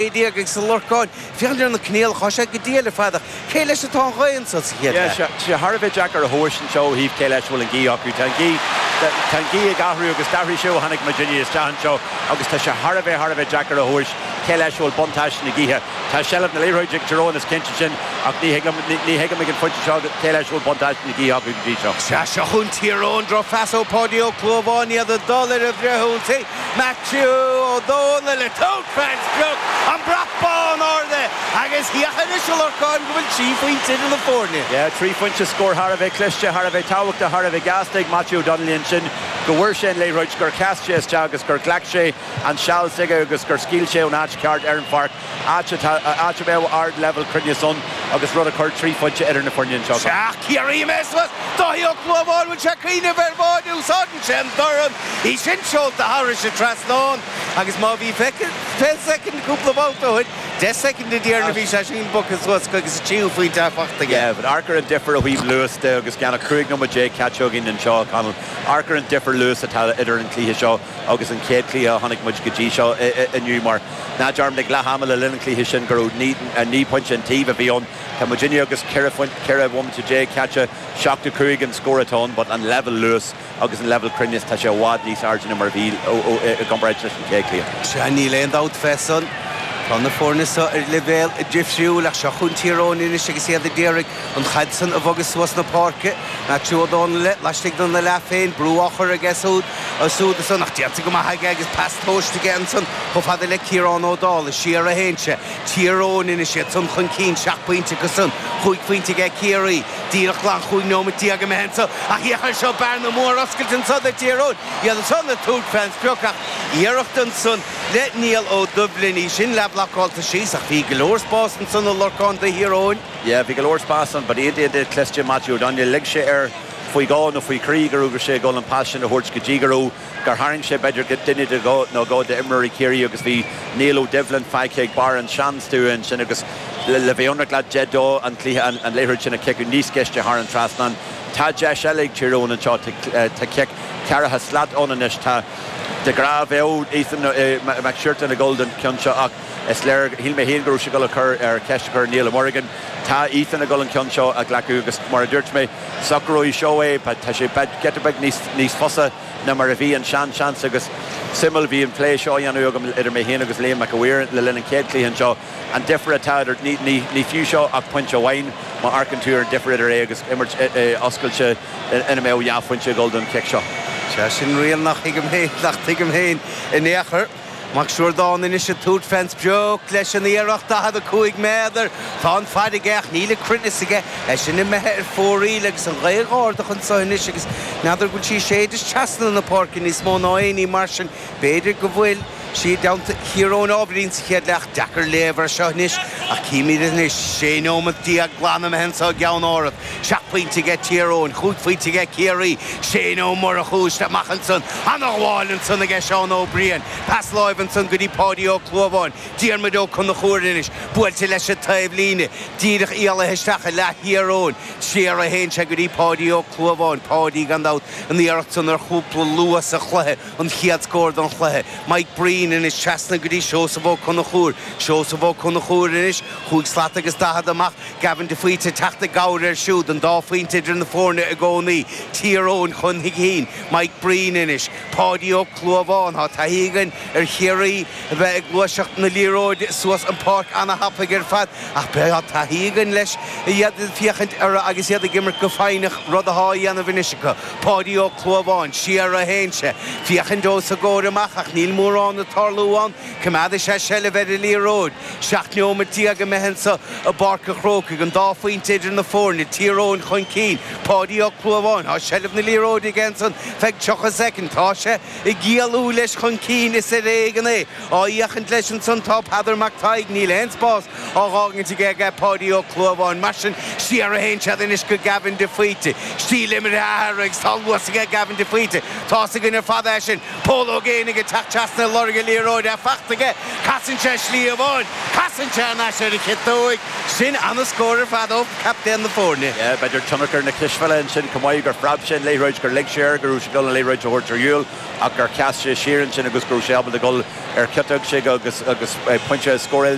Agus a Lorcáin, féachaint ar na coinníollacha, tá sé go diail ar fad ach cé leis atá an ghaoth anso sa chéad leath? Tá sé thar a bheith deacair a thomhais anseo ó thaobh cé leis a bhfuil an ghaoth acu. Tá an ghaoth, tá an ghaoth ag athrú agus d'athraigh sé ó tháinig muidinne isteach anseo agus tá sé thar a bheith, thar a bheith deacair a thomhais cé leis a bhfuil buntáiste na gaoithe. Tá seilbh na liathróide ag Tír Eoghain, is cinnte sin, ach ní thig liom, ní thuigim ag an phointe seo cé leis a bhfuil buntáiste na gaoithe acu go dtí seo. Sea, seo chugainn Tír Eoghain, drochphas ó Pháidí Ó Clúmháin, iad ag dul ar an bhfrithionsaí. Maitiú Ó Dónaill ag tabhairt fén sprioc, an brat bán ardaithe agus féach anois a Lorcáin go bhfuil 3 phointe idir na foirne. Yeah, 3 phointe, scór thar a bheith cliste, thar a bheith tábhachtach, thar a bheith gasta ag Maitiú O'Donnelly ansin, go bhfuair sé an liathróid, gur sheas sé isteach agus gur ghlac sé an seal s'aige agus gur scaoil sé ón áit cheart ar an pháirc, áit atá, áit a mbeadh ard-leibhéal cruinneas ann agus rud a chuir 3 phointe idir na foirne anseo. Sea, Ciarraí imithe suas, Dáithí Ó Clúmháin, bhfuil sé ag cuimhneamh ar bháide, úsáideann sé an dorn. Í sin seolta thairis an trasnán agus má bhí 20 soicind cúpla babhta ó shin, 10 soicind an deireanach bhí sé sin bogtha suas agus an tríú phointe faighte aige. Yeah, but amharc ar an difear ó thaobh luas de agus gan ach 15 nóiméad caite againn anseo, a Chonaill. Amharc ar an difear luas atá idir an cluiche seo agus an chéad chluiche a chonaic muid go dtí seo inniu mar ná dearmad ag leath ama le linn an chluiche sin go raibh 9 pointe an taobh a bhí ann. Tá muidinne agus 14 bhomaite caite, 7-5 an scór atá ann but an leibhéal luas agus an leibhéal cruinnis, tá sé i bhfad níos airde ná mar a bhí i gcomparáid leis an chéad chluiche. Sea, níl aon dabht fé san. Tá na foirne seo ar leibhéal difriúil ach seo chugainn Tír Eoghain anois agus iad a d'iarraidh an chaid san a bhogadh suas na páirce. Maitiú Ó Dónaill laistigh dena leath féin, brú á chur aige siúd ansan ach déanta go maith aige agus pas tomhaiste aige ansan chomh fada le Ciarán Ó Dálaigh. Siar a théann sé. Tír Eoghain anois iad san chun cinn, seacht bpointe acu san, chúig phointe aige Ciarraí. Díreach glan 15 nóimeat imithe anso ach féach air seo, bearna mór oscailte anso do Thír Eoghain. Iad ansan ag tabhairt fén sprioc ach iarracht ansan le Niall Ó Doibhlin, í sin leathbhlocálta síos ach bhí go leor spás ansan a Lorcáin do Thír Eoghain. Yeah, bhí go leor spás ann but iontach cliste Matthew O'Donnell. Lig sé air faoi dhó nó faoi thrí go raibh sé ag dul an pas sin a thabhairt go dtí go raibh gur tharraing sé b'fhéidir duine de dhó nó dhó d'imreoirí Chiarraí agus bhí Niall Ó Doibhlin fágtha ag barr an seanstua ansin agus le bheith ionraic leat deis dó an cluiche an liathróid sin a chiceadh níos gaiste thar an trasnán. Tá deis eile ag Tír Eoghain anseo, tá cic ceathracha slat ann anois. Tá de ghnáth bheadh Ethan Mac Siortain ag dul don cheann seo ach is léir, shíl mé féin go raibh sé ag dul a chur ar ceist a chur ar Niall Ó Muireagáin. Tá Ethan ag dul an ceann seo a ghlacadh agus mar a dúirt mé, socróidh seo é, tá sé giota beag níos fusa ná mar a bhí an sean-seans agus suimiúil, bhí an plé seo á dhéanamh agam idir mé féin agus Liam Mac a' Mhaoir le linn an chéad chluiche anseo, an difear atá idir, ní fiú seo ach pointe amháin má amharcann tú ar an difear idir é agus imirt oscailte ina mbeadh dhá phointe ag dul don chic seo. Sea, sin riail nach thuigim féin, nach dtuigim féin in aon chor. Mac Siúrdáin anois ag tabhairt fén sprioc leis an iarracht 45 méadar. Tá an fad aige ach níl an cruinneas aige. É sin imithe ar fóraoil agus an ghaoth dh'ardach anso anois agus n'fheadar go bhfuil sí ag séideadh trasna na páirce níos mó ná aon ní mar sin. B'fhéidir go bhfuil sí i dteannta Thír Eoghain ábhairín sa chéad leath. Deacair léamh ar seo anois ach címid anois. 16 nóimeat glan imithe anso i gCeann Árad. Seacht bpointe aige Tír Eoghain, chúig phointe aige Ciarraí. Shane Ó Murchú isteach amach ansan. Ana-ghabháil ansan aige Seán Ó Briain. Pas láimhe ansan go dtí Páidí Ó Clúmháin. Diarmuid Ó Conchúir anois. Buailte leis an taobhlíne. Díreach éalaithe isteach i leath Thír Eoghain. Siar a théann sé go dtí Páidí Ó Clúmháin. Páidí, gan dabht, an iarracht san ar chúpla luath sa chluiche. An chéad scór don chluiche. Mike Breen anois trasna go dtí Seosamh Ó Conchúir. Seosamh Ó Conchúir anois. Chúig slat agus 40 amach. Gavin de Faoite ag teacht i gcabhair air siúd, an dá phointe idir na foirne i gcónaí. Tír Eoghain chun cinn. Mike Breen anois. Páidí Ó Clúmháin. Tá taithí againn ar Chiarraí a bheith ag gluaiseacht na liathróide suas an pháirc ana-thapaidh ar fad ach tá taithí againn leis iad ag féachaint orthu agus iad ag imirt go foighneach, rud atá á dhéanamh anois acu. Páidí Ó Clúmháin. Siar a théann sé. Féachaint os a gcomhair amach ach níl mórán ag tarlú ann. Coimeádfaidh sé seilbh ar an liathróid. 17 nóimeat imithe anso i bPáirc an Chrócaigh, an dá phointe idir na foirne, Tír Eoghain chun cinn. Páidí Ó Clúmháin, tá seilbh na liathróide aige ansan feadh 30 soicind. Tá sé ag éalú leis chun cinn, is ar éigean é. Á fhéachaint leis ansan tá Peadar Mac Tadhg, níl aon spás á dh'fhágaint aige ag Páidí Ó Clúmháin. Mar sin, siar a théann siad anois go Gavin de Faoite. Stíl imeartha a athrú agus tá luas aige Gavin de Faoite. Tá's againn ar fad é sin. Pól Ó Géibheannaigh ag teacht trasna ag lorg. an liathróid, é fachta aige, casann sé slí amháin, casann sé thar n-ais ar an chiotóig. Sin ana-scór ar fad ó chaptaen na foirne. Yeah, b'fhéidir tionchar na cispheile ansin chomh maith, gur phreab sé an liathróid, gur lig sé air go raibh sé ag dul an liathróid a thabhairt ar shiúl ach gur sheas sé siar ansin agus go raibh sé ábalta dul ar chiotóg agus agus pointe a scóráil.